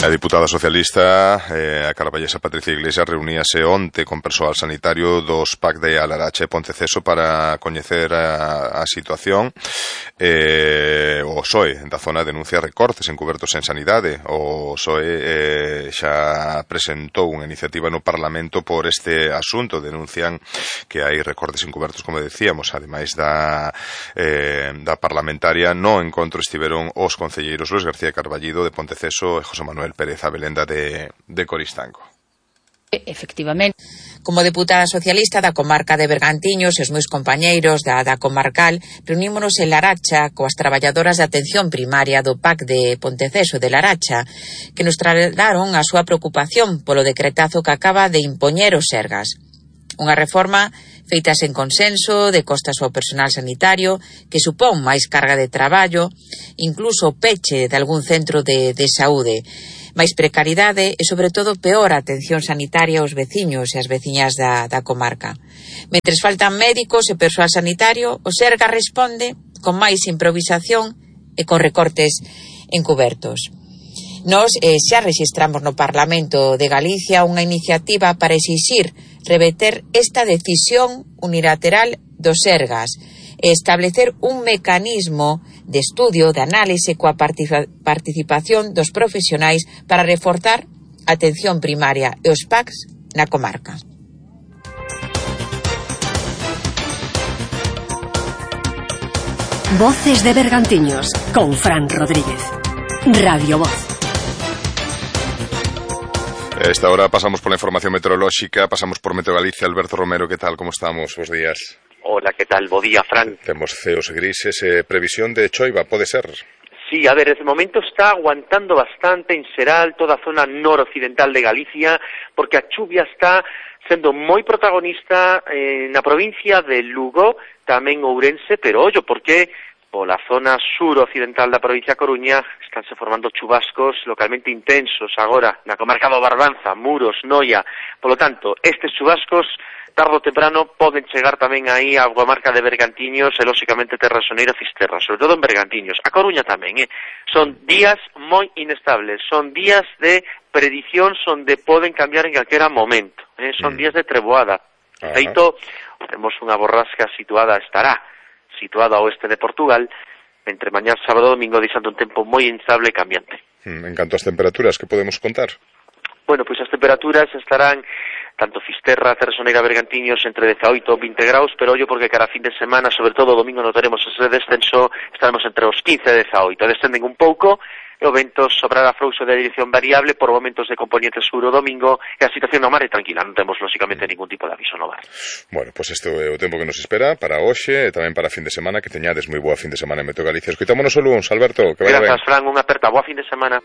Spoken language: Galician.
A diputada socialista, a carballesa Patricia Iglesias, reuníase onte con persoal sanitario dos PAC de Alaracha e Ponteceso para coñecer a situación. O PSOE da zona denuncia recortes encubertos en sanidade. O PSOE xa presentou unha iniciativa no Parlamento por este asunto. Denuncian que hai recortes encubertos, como decíamos, ademais da parlamentaria. No encontro estiveron os concelleiros Luis García Carballido de Ponteceso e José Manuel Pérez Abelenda de Coristanco. Efectivamente, como deputada socialista da comarca de Bergantiños e os meus compañeiros da comarcal, reunímonos en Laracha coas traballadoras de atención primaria do PAC de Ponteceso de Laracha, que nos trasladaron a súa preocupación polo decretazo que acaba de impoñer o Sergas. Unha reforma feita sen consenso, de costas ao personal sanitario, que supón máis carga de traballo, incluso o peche de algún centro de saúde, máis precariedade e, sobre todo, peor atención sanitaria aos veciños e as veciñas da comarca. Mentres faltan médicos e persoal sanitario, o Sergas responde con máis improvisación e con recortes encubertos. Nós xa rexistramos no Parlamento de Galicia unha iniciativa para exixir reverter esta decisión unilateral do Sergas e establecer un mecanismo de estudio, de análise coa participación dos profesionais para reforzar a atención primaria e os PACs na comarca. Voces de Bergantiños con Fran Rodríguez. Radio Voz. A esta hora pasamos pola información meteorolóxica, pasamos por Meteo Galicia. Alberto Romero, que tal, como estamos? Bos días. Hola, que tal? Bo día, Fran. Temos ceos grises, previsión de choiva, pode ser? Sí, a ver, desde o momento está aguantando bastante en Seral, toda a zona noroccidental de Galicia, porque a chuvia está sendo moi protagonista na provincia de Lugo, tamén Ourense, pero ollo, porque pola zona suroccidental da provincia da Coruña estánse formando chubascos localmente intensos agora na comarca do Barbanza, Muros, Noia. Polo tanto, estes chubascos tarde ou temprano poden chegar tamén aí á comarca de Bergantiños e, lóxicamente, Terra Soneira e Fisterra, sobre todo en Bergantiños. A Coruña tamén, Son días moi inestables, son días de predicións onde poden cambiar en calquera momento, Son días de treboada. De feito, temos unha borrasca estará situada ao oeste de Portugal, entre mañá, sábado e domingo, deixando un tempo moi inestable e cambiante. En canto ás temperaturas, que podemos contar? Bueno, pois as temperaturas estarán tanto Fisterra, Terra Soneira, Bergantiños entre 18 e 20 graus, pero ollo porque cara a fin de semana, sobre todo o domingo, notaremos ese descenso, estaremos entre os 15 e 18, descenden un pouco, e o vento sobrará frouxo de dirección variable por momentos de componente sur o domingo, e a situación no mar é tranquila, non temos lóxicamente ningún tipo de aviso no mar. Bueno, pois este é o tempo que nos espera para hoxe e tamén para fin de semana, que teñades moi boa fin de semana en Meteo Galicia. Escoitámonos o luns, Alberto, que vai ben. Grazas, Fran, unha aperta, boa fin de semana.